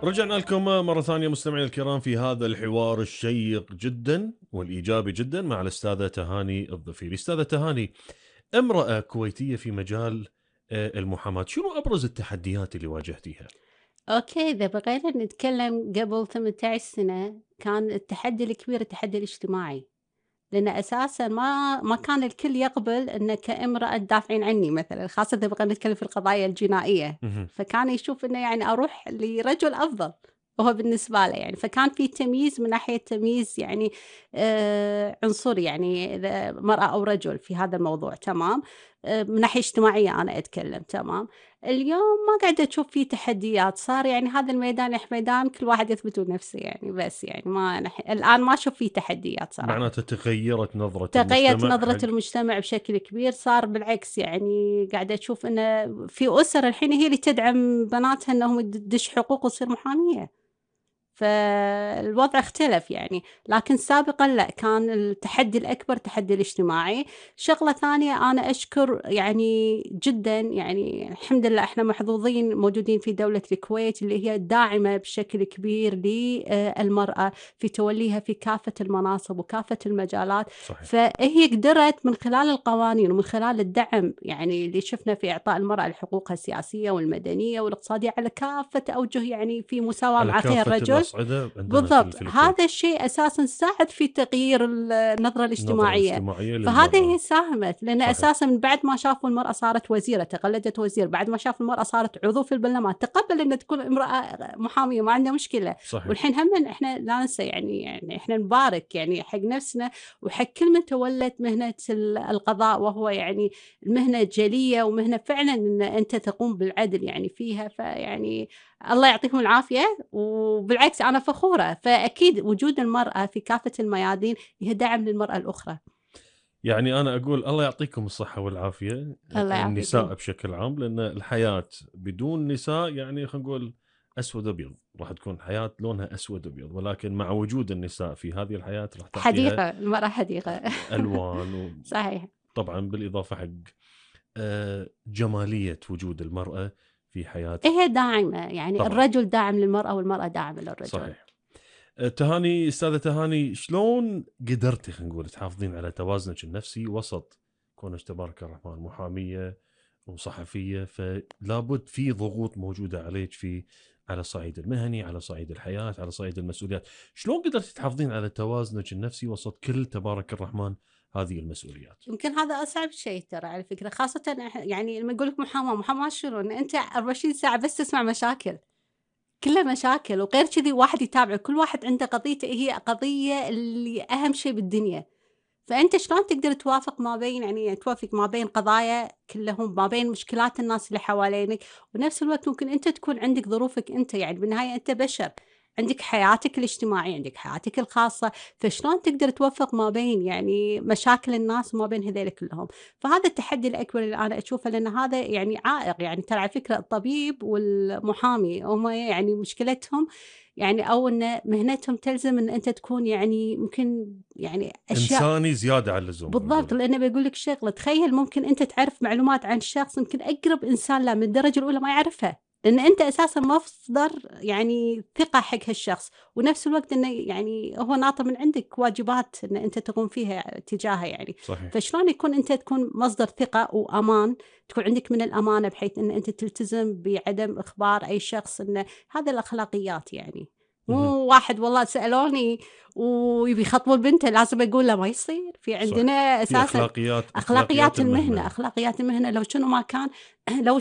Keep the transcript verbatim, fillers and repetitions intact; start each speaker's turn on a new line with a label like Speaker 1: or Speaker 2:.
Speaker 1: رجعنا لكم مرة ثانية مستمعينا الكرام في هذا الحوار الشيق جدا والإيجابي جدا مع الأستاذة تهاني الظفيري. أستاذة تهاني، امرأة كويتية في مجال آه، المحاماة، شنو أبرز التحديات اللي واجهتيها؟
Speaker 2: أوكي، إذا بغينا نتكلم قبل ثمانية عشر سنة كان التحدي الكبير التحدي الاجتماعي، لأن أساسًا ما ما كان الكل يقبل إن كامرأة تدافعين عني مثلًا، خاصة إذا بغينا نتكلم في القضايا الجنائية،
Speaker 1: مهم.
Speaker 2: فكان يشوف إنه يعني أروح لرجل أفضل، هو بالنسبة له يعني، فكان في تمييز من ناحية تمييز يعني آآ عنصري يعني إذا مرأة أو رجل في هذا الموضوع تمام، آآ من ناحية اجتماعية أنا أتكلم تمام. اليوم ما قاعدة أشوف فيه تحديات، صار يعني هذا الميدان يح ميدان كل واحد يثبت نفسه يعني بس يعني ما نح الآن ما أشوف فيه تحديات صراحة.
Speaker 1: معناته تغيرت نظرة
Speaker 2: تغيّرت
Speaker 1: المجتمع
Speaker 2: نظرة
Speaker 1: حق.
Speaker 2: المجتمع بشكل كبير، صار بالعكس يعني قاعدة أشوف إنه في أسر الحين هي اللي تدعم بناتها إنهم تد تدش حقوق وتصير محامية. فالوضع اختلف يعني، لكن سابقًا لأ، كان التحدي الأكبر التحدي الاجتماعي. شغلة ثانية أنا أشكر يعني جدًا يعني الحمد لله إحنا محظوظين موجودين في دولة الكويت اللي هي داعمة بشكل كبير للمرأة في توليها في كافة المناصب وكافة المجالات،
Speaker 1: صحيح.
Speaker 2: فهي قدرت من خلال القوانين ومن خلال الدعم يعني اللي شفنا في إعطاء المرأة لحقوقها السياسية والمدنية والاقتصادية على كافة أوجه يعني في مساواة
Speaker 1: على
Speaker 2: مع غير
Speaker 1: كافة
Speaker 2: رجل.
Speaker 1: الأصعدة عندنا في ال-
Speaker 2: بالضبط،
Speaker 1: في
Speaker 2: هذا
Speaker 1: الكويت.
Speaker 2: الشيء أساسًا ساعد في تغيير ال النظرة
Speaker 1: النظرة
Speaker 2: الاجتماعية،
Speaker 1: الاجتماعية
Speaker 2: فهذه
Speaker 1: للمرأة.
Speaker 2: هي ساهمت، لأن
Speaker 1: صحيح.
Speaker 2: أساسًا من بعد ما شافوا المرأة صارت وزيرة، تقلدت وزير، بعد ما شافوا المرأة صارت عضو في البرلمان، تقبل إن تكون امرأة محامية ما عنده مشكلة،
Speaker 1: صحيح.
Speaker 2: والحين هم إحنا لا ننسى يعني يعني إحنا نبارك يعني حق نفسنا وحق كل من تولت مهنة ال القضاء، وهو يعني مهنة جلية ومهنة فعلًا إن أنت تقوم بالعدل يعني فيها، فيعني الله يعطيكم العافية، وبالعكس أنا فخورة، فأكيد وجود المرأة في كافة الميادين هي دعم للمرأة الأخرى.
Speaker 1: يعني أنا أقول الله يعطيكم الصحة والعافية،
Speaker 2: الله يعافيكم.
Speaker 1: النساء بشكل عام، لأن الحياة بدون نساء يعني خلينا نقول أسود أبيض، راح تكون حياة لونها أسود أبيض، ولكن مع وجود النساء في هذه الحياة راح تعطيها
Speaker 2: حديقة، المرأة حديقة.
Speaker 1: ألوان،
Speaker 2: صحيح.
Speaker 1: وطبعا بالإضافة حق آه، جمالية وجود المرأة في حياة.
Speaker 2: هي داعمة، يعني
Speaker 1: طبعا.
Speaker 2: الرجل داعم للمرأة والمرأة داعمة للرجل.
Speaker 1: صحيح. آه، تهاني، أستاذة تهاني، شلون قدرتي خلينا نقول تحافظين على توازنك النفسي وسط كونك تبارك الرحمن محامية وصحفية، فلابد في ضغوط موجودة عليك في على الصعيد المهني، على صعيد الحياة، على صعيد المسؤوليات، شلون قدرتي تحافظين على توازنك النفسي وسط كل تبارك الرحمن هذه المسؤوليات؟
Speaker 2: يمكن هذا أصعب شيء ترى على فكرة، خاصةً إح يعني لمّا يقول لك محاماة، محاماة شنو؟ إن أنت أربعة وعشرين ساعة بس تسمع مشاكل. كلّها مشاكل، وغير كذي واحد يتابعك، كل واحد عنده قضيته هي قضية اللي أهم شي بالدنيا، فأنت شلون تقدر توافق ما بين يعني توافق ما بين قضايا كلّهم، ما بين مشكلات الناس اللي حوالينك، ونفس الوقت ممكن أنت تكون عندك ظروفك أنت، يعني بالنهاية أنت بشر، عندك حياتك الاجتماعية، عندك حياتك الخاصة، فشلون تقدر توفق ما بين يعني مشاكل الناس وما بين هذيل كلّهم، فهذا التحدي الأكبر اللي أنا أشوفه، لأن هذا يعني عائق، يعني ترى على فكرة الطبيب والمحامي هم يعني مشكلتهم يعني أو إن مهنتهم تلزم إن أنت تكون يعني ممكن يعني أشياء.
Speaker 1: إنساني زيادة عن اللزوم خلينا
Speaker 2: بالضبط،
Speaker 1: نقولها.
Speaker 2: لأنه بيقول لك شغلة، تخيل ممكن أنت تعرف معلومات عن شخص يمكن أقرب إنسان له من الدرجة الأولى ما يعرفها، لأن أنت أساسًا مصدر يعني ثقة حق هالشخص، ونفس الوقت إنه يعني هو ناطر من عندك واجبات إن أنت تقوم فيها تجاهه يعني،
Speaker 1: صحيح.
Speaker 2: فشلون يكون أنت تكون مصدر ثقة وأمان، تكون عندك من الأمانة بحيث إن أنت تلتزم بعدم إخبار أي شخص إنه هذا الأخلاقيات يعني، مو
Speaker 1: مهم.
Speaker 2: واحد والله سألوني ويبي يخطبون بنته لازم أقول له ما يصير، في عندنا
Speaker 1: صح. في
Speaker 2: أساسًا
Speaker 1: أخلاقيات أخلاقيات
Speaker 2: أخلاقيات المهنة،
Speaker 1: المهنة.
Speaker 2: أخلاقيات المهنة لو شنو ما كان لو